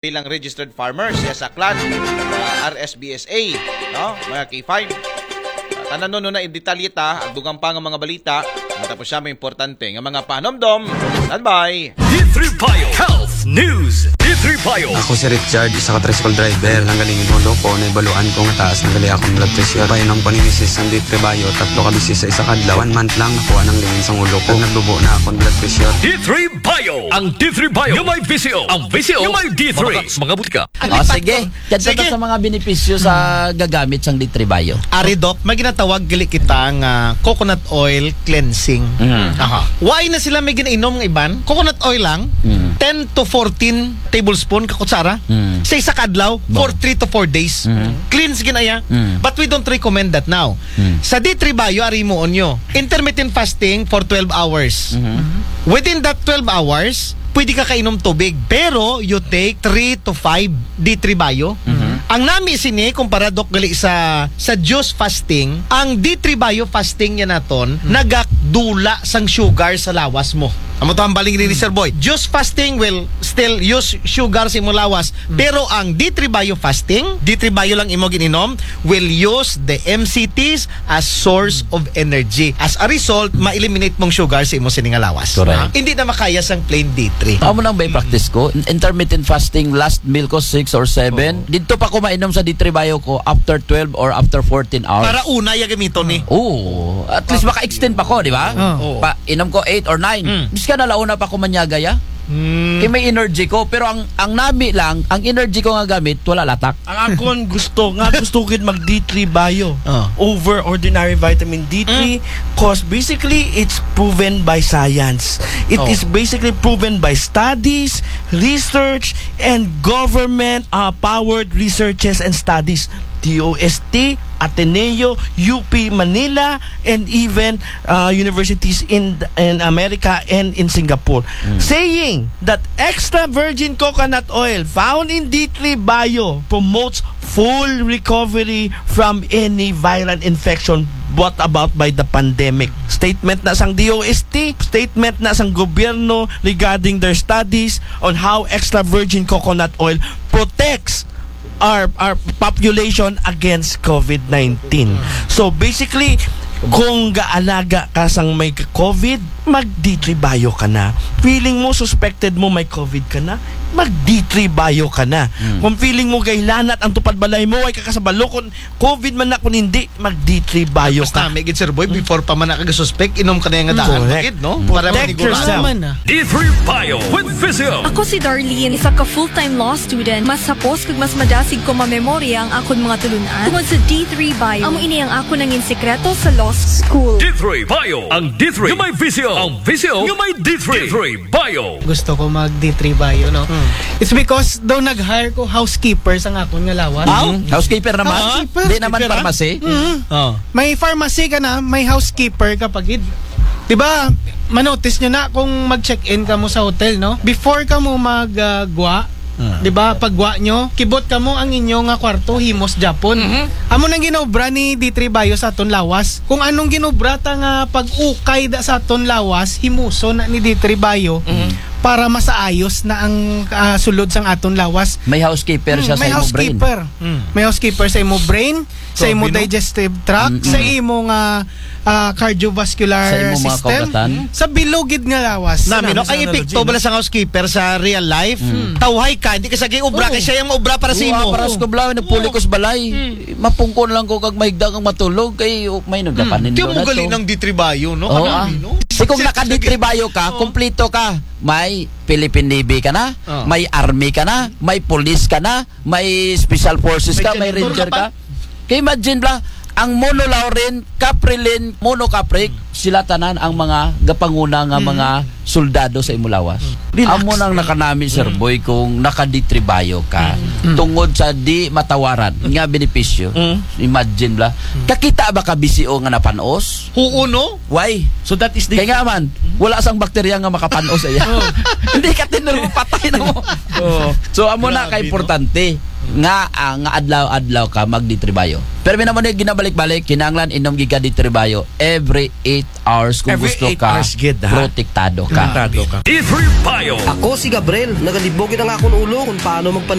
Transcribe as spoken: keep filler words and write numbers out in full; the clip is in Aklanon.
bilang registered farmers, siya sa clan, ah, R S B S A, no? Mga K five. Ah, tanan no na in detalye ta, ang dugang pa nga mga balita, matapos siya may importante nga mga panomdom. Standby! D three Bio Health News. D three Bio. Ako si Richard, isa ka tricycle driver. Nanggaling yung ulo ko, naibaluan ko nga taas na gali akong blood pressure. Painom ko ni misis ang D three Bio, tatlo ka bisis sa isa ka adlaw. One month lang, nakuha ng lingin sa ulo ko. Naglubo na akong blood pressure. D three Bio. Ang D three Bio. Yung may visyo. Ang visyo. Yung may D three. Mga, mga butika. O, sige. Kadto ta sa mga benepisyo sa gagamit sang D three Bio. Ari, Doc, may ginatawag gali kita nga coconut oil cleansing. Aha. Why na sila may ginainom nga iban? Coconut oil lang, ten to fourteen tablespoon ka kutsara. Sa isa ka adlaw, for three to four days. Cleanse ginaya. But we don't recommend that now. Sa D three Bio, ari mo onyo. Intermittent fasting for twelve hours. Within that twelve hours, pwede ka kainom tubig. Pero you take three to five D three Bio. Ang nami sini, kumpara, Doc, gali sa, sa juice fasting, ang D three Bio fasting niya naton, nagakdula sang sugar sa lawas mo. Amo to ang baling ni Sir Boy. Juice fasting will still use sugar sa imong lawas. Pero ang D three Bio fasting, D three Bio lang imo gininom, will use the M C Ts as source of energy. As a result, ma-eliminate mong sugar sa imo sini nga lawas. Correct. Hindi na makaya sang plain D three. Amo nang may practice ko, intermittent fasting, last meal ko six or seven. Dito pa ko mainom sa D three Bio ko after twelve or after fourteen hours. Para una ya gamito ni. Oo. At least maka-extend pa ko, di ba? Oo. Pa, inom ko eight or nine. Bis ka na launa pa ko manyaga ya. Kaya may energy ko. Pero ang, ang nami lang, ang energy ko nga gamit, wala latak. Ang akon gusto, nga gusto ko gid mag D three Bio Oh. over ordinary vitamin D three, cause basically it's proven by science. It Oh. is basically proven by studies, research, and government uh, powered researches and studies. D O S T, Ateneo, U P Manila, and even uh, universities in in America and in Singapore, saying that extra virgin coconut oil found in D three Bio promotes full recovery from any viral infection brought about by the pandemic. Statement na sang D O S T, statement na sang gobyerno regarding their studies on how extra virgin coconut oil protects our our population against COVID nineteen. So basically, kung gaalaga ka sang may COVID, mag D three Bio ka na. Feeling mo suspected mo may COVID ka na, mag D three Bio ka na. Kung feeling mo gailanat ang tupad balay mo, ay kakasabalo kung COVID man na kung hindi, mag D three Bio Basta ka. May gid, Sir Boy, before pa man nakagasuspect, inom ka na yung daan. Correct. Bakit, no? Protect manigurado. Yourself. D three Bio with Visio. Ako si Darlene, isa ka full-time law student. Mas hapos kag mas madasig ko mamemorya ang akon mga tulunan tungod sa D three Bio. Amo ini ang akon nangin sekreto sa law school. D three Bio. Ang D three. Yung may visyo. Ang visyo. Yung may D three. D three Bio. Gusto ko mag D three Bio, no? It's because daw nag-hire ko housekeeper sa akon nga lawas. Aw, housekeeper naman? Housekeeper. Di naman pharmacy? Oh. May pharmacy ka na, may housekeeper ka pa gid. Di ba, manotice nyo na kung mag-check-in ka mo sa hotel, no? Before ka mo mag-gwa, di ba, paggwa nyo, kibot ka mo ang inyo nga kwarto, himos Japon. Amo nang ginobra ni D three Bio sa aton lawas. Kung anong ginobra ta nga pag-ukay da sa aton lawas, himuson na ni D three Bio para masaayos na ang ah, sulod sang aton lawas. May housekeeper siya Mm, may sa imo brain. Housekeeper. May housekeeper sa imo brain, sa imo Grabe, no? Digestive tract, sa imo nga ah, cardiovascular Sa imo mga system, kaugatan. Sa bilog gid nga lawas. Nami, no? Sa Ang epekto analogy, bala sa housekeeper sa real life, tawhay ka, hindi ka sa obra, kay siya yung obra para sa Oo, imo. Para sa kublaw, nagpuli ko sa balay. Mapungkon lang ko kag mahigda kang matulog kay oh, may nagapanin Di doon mo na gali to. Ng D three Bio, no? Oo, Kanami, ah. no? Si kung Si- sige. Naka-D three Bio ka, Oo. Kompleto ka. May Philippine Navy ka na, Oo. may Army ka na, may Police ka na, may Special Forces May ka, may janitor Ranger ka pa. ka. Kaya imagine bla, ang monolaurin, caprilin, monocapric, sila tanan ang mga gapanguna nga mga soldado sa imulawas. Amo nang nakanami, Sir Boy, kung naka-D three Bio ka, tungod sa di matawaran nga benepisyo. Imagine bla, kakita ba ka B C O nga napanos? Huo, no? Why? So that is the Kaya nga man, wala sang bakterya nga makapanos iya. Hindi ka tinuro, patay na mo. So amo na Grabe, ka importante. nga ah, nga adlaw-adlaw ka mag D three Bio. Pero minamuni, ginabalik-balik, kinahanglan inom gid ka D three Bio every eight hours kung Every gusto eight ka hours gid, ha? protektado ka. Tado ka. D three Bio. Ako si Gabriel, nagalibog na nga akong ulo kung paano magpan